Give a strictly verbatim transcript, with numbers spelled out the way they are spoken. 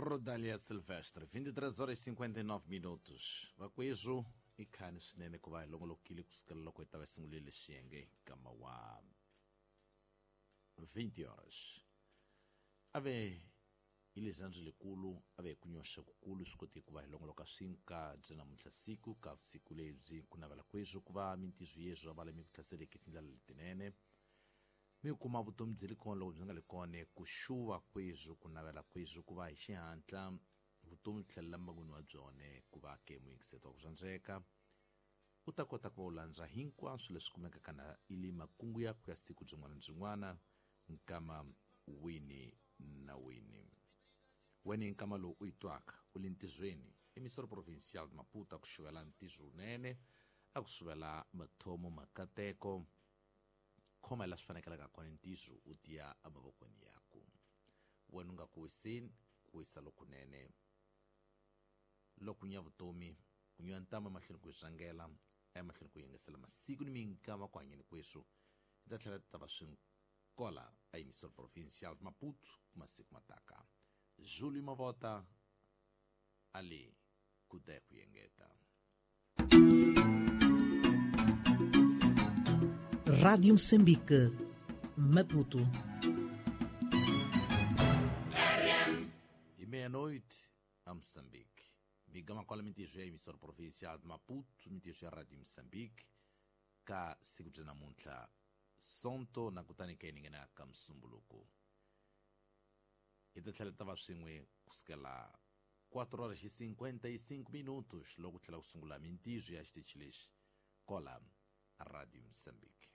Rodalia Silvestre, vinte e três horas e cinquenta e nove minutos. Vakwezu ikhani swinene ku va hi longolokile kusukela loko hi ta va sungulile xiyenge nkama wa vinte horas. Ave hi lexandzu lekulu ave ku nyoxa kukulu swi kote ku va hi longoloka swinka byi namuntlha siku ka vusiku lebyi ku navela kwezu ku va mintizo yezwo va lemi ku hlaseleke tindlela letinene. Mi kuma vutomi byi ri kona loko byi nga ri kona ku xuva kwezu ku navela kwezu ku va hi xihatla vutomi tlhelela mbangwini wa byone ku va ke muyingiseto wa ku rhandzeka u ta kota ku va u landza hinkwaswo leswi kumekaka na ili makungu ya ku ya siku byin'wana na byin'wana nkama wini na wini. Wena nkama lowu u yi twaka u le ntizweni emissora provincial de Maputo a ku xuvela ntizo wunene a ku xuvela mathomo makateko khoma la swi fanekelaka kona ntizo u tiya emavokweni yaku. Wena u nga ku wiseni ku wisa lokunene loko nya vutomi ku nywa ntama emahlweni ku yi rhangela emahlweni ku yingisela masiku ni minkama ku hanyeni kwesu hi ta tlhela ta va swinkola a emissora provincial de Maputo ku masiku mataka. Júlio Mavota ali kude ku yengeta. Rádio Moçambique, Maputo. E meia-noite a Moçambique. Migama qual mentira emissora provincial de Maputo, mentira Rádio Moçambique, ka siku tena muntla sonto na kutani ke ningena ka msumbuluko. Hi ta tlhela ta va swin'we kusukela quatro horas e cinquenta e cinco minutos loko tlhela ku sungula mintizo ya xitichi lexi kola Rádio Moçambique.